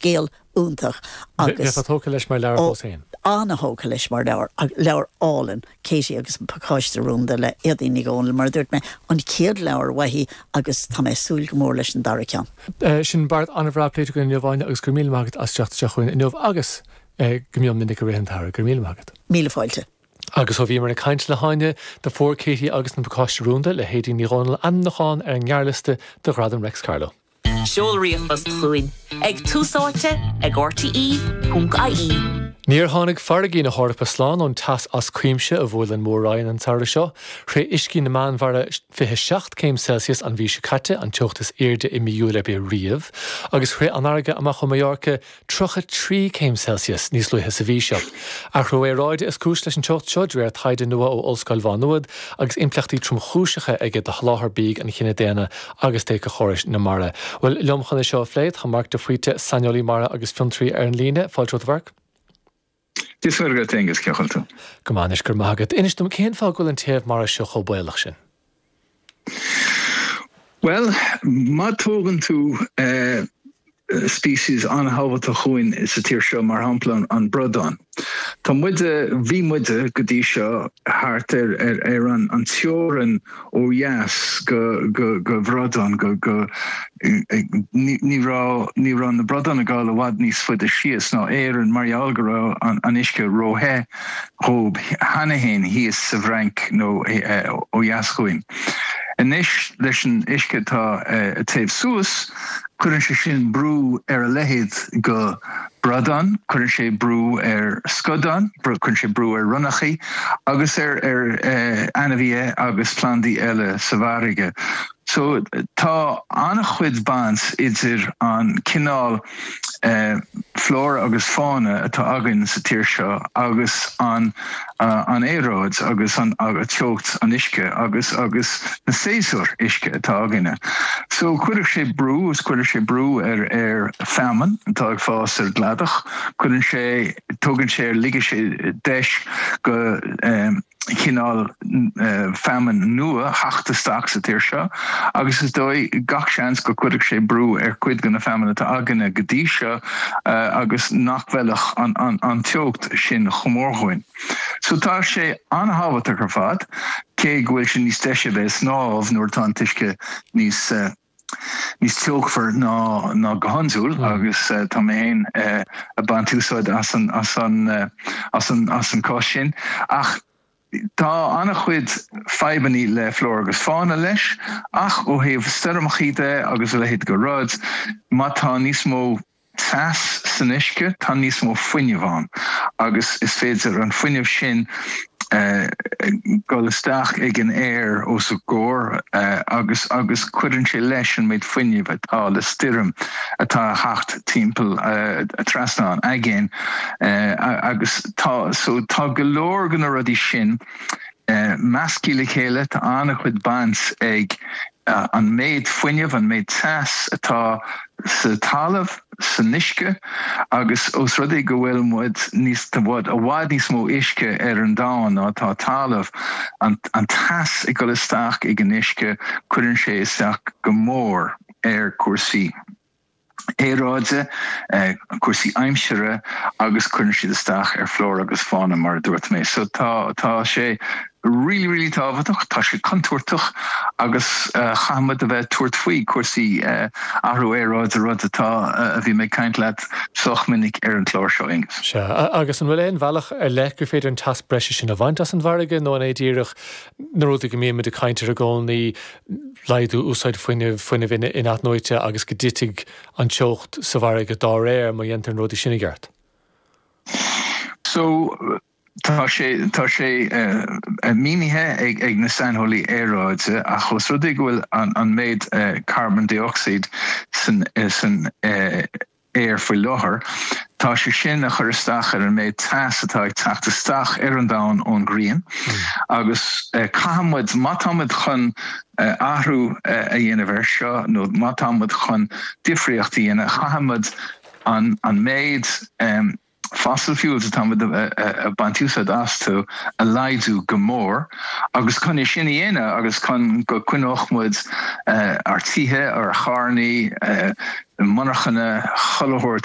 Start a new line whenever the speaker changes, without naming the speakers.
Scéal iontach agus.
Bheifeá tógtha leis mar leabhar fós féin.
Ana-thógtha leis mar leabhar, leabhar álainn, Katie agus an Pacáiste Rúnda le Éadaoin Ní Dhomhnaill, mar a dúirt mé, an chéad leabhar uaithi agus tá mé ag súil go mór leis an dara ceann.
Sin beart an-bhreá pléite againn inniu, Áine, agus go raibh míle maith agat as teacht isteach chugainn inniu agus go mion minic i rith an tsamhraidh. Go raibh míle maith agat.
Míle fáilte.
Agus ó bhíomar ag caint le hÁine, do fuair Katie agus an Pacáiste Rúnda le hÉadaoin Ní Dhomhnaill ainmniúchán ar an ngearrliosta do Ghradam Reics Carló.
Seol ríomhphost chugainn ag túsáite ag rte.ie.
Níor tháinig farraigí na hEorpa slán ón teas as cuimse a bhuail an Mhór-Roinn an samhradh seo. Shroich uiscí na Meánmhara 27 céim Celsius an mhí seo caite, an teocht is airde i mí Iúil ar bith riamh, agus shroich an fharraige amach ó Mallorca 33 céim Celsius níos luaithe sa mhí seo. Athrú aeráide is cúis leis an teocht seo, de réir taighde nua ó Ollscoil Mhá Nuad, agus impleachtaí tromchúiseacha aige do sholáthar bídh an chine daonna agus d'éiceachórais na mara. Bhuel, liom chun é seo a phlé, tá Marc de Faoite, saineolaí mara agus fiontraí ar an líne. Fáilte romhat, a Mharc.
Dia is Muire dhuit, Aengus, cén chaoi a bhfuil tú?
Go maith anois, go raibh maith agat. Inis dom, cén fáth go bhfuil an téamh mara seo chomh baolach sin?
Bhuel, má tógann tú species an-thábhachtach chugainn sa tír seo, mar shampla an bradán. Tá muide, bhí muide go dtí seo thart ar ar an an teorainn ó dheas go go go bhradán go go ní raibh ní raibh na bradáin ag dul i bhfad níos faide síos ná Éirinn mar gheall go raibh an an uisce ró-the dhóibh cheana féin thíos sa bhFrainc nó ó dheas chugainn. Anois leis an uisce atá ag téamh suas, cuireann sé sin brú ar a leithéid go bradán, cuireann sé brú ar scadán, cuireann sé brú ar ronnachaí agus ar ainmhithe agus plandaí eile sa bhfarraige. So tá an-chuid baint idir an cineál flora agus fauna atá againn sa tír seo agus an an aeráid agus an teocht an uisce agus agus na séasúir uisce atá againne. So cuirfidh sé brú is cuirfidh sé brú ar ar feamainn atá ag fás ar an gcladach, cuireann sé tugann sé ar ligfidh sé deis go chineál feamainn nua theacht isteach sa tír seo agus is dóigh, gach seans go gcuirfeadh sé brú ar chuid de na feamainn atá againne go dtí seo agus nach bhfeilfeadh an teocht sin chomh mór dhúinn. So tá sé an-thábhachtach ar fad, cé go bhfuil sé níos deise a bheith ag snámh nuair atá an t-uisce níos. níos teochmhar ná ná go hiondúil agus tá mé féin ag baint úsáid as an as an as an as an cás sin. Ach tá an-chuid fadhbannaí le flora agus fauna leis ach ó thaobh stoirmeachaí de agus a leithéid de rud, má tá níos mó teas san uisce, tá níos mó fuinnimh ann agus is féidir an fuinneamh sin dul isteach ag an aer os ár gcomhair agus agus cuireann sé leis an méid fuinnimh atá le stoirm atá a theacht timpeall trasna an aigéin agus tá so tá go leor de na rudaí sin measctha le chéile, tá an-chuid baint ag an méid fuinnimh, an méid teas atá sa talamh, san uisce agus ós rud é go bhfuil muid níos, i bhfad níos mó uisce ar an domhan ná atá talamh, an teas ag dul isteach ag an uisce, cuireann sé isteach go mór ar cúrsaí. aeráide, cúrsaí aimsire agus cuireann siad isteach ar flora agus fauna mar a dúirt mé. So tá tá sé really really tábhachtach, tá sé contúirteach agus chaithfidh muid a bheith ag tabhairt faoi cúrsaí athrú aeráide, rud atá a bhí mé ag caint leat sách minic ar an chlár seo, Aengus.
Sea, agus an bhfuil aon bhealach ar leith gur féidir an teas breise sin a bhaint as an bhfarraige nó an é díreach na rudaí go mbímid ag caint air i gcónaí, laghdú úsáid fuinnimh, fuinneamh in-athnuaite agus go dtitfidh an teocht sa bhfarraige dá réir má dhéantar na rudaí sin i gceart.
So, tá sé, tá sé mínithe ag, ag na saineolaí aeráide ach ós rud é go bhfuil an, an méid carbon dioxide san, san aer faoi láthair, tá sé sin a chur isteach ar an méid teas atá ag teacht isteach ar an domhan ón ghrian agus caithfidh muid, má tá muid chun athrú a dhéanamh air seo nó má tá muid chun difríocht a dhéanamh, caithfidh muid an méid fossil fuels atá muid ag baint úsáid astu a laghdú go mór agus chun é sin a dhéanamh agus chun go coinneodh muid ár tithe, ár charrannaí, monarchana, chuile shórt.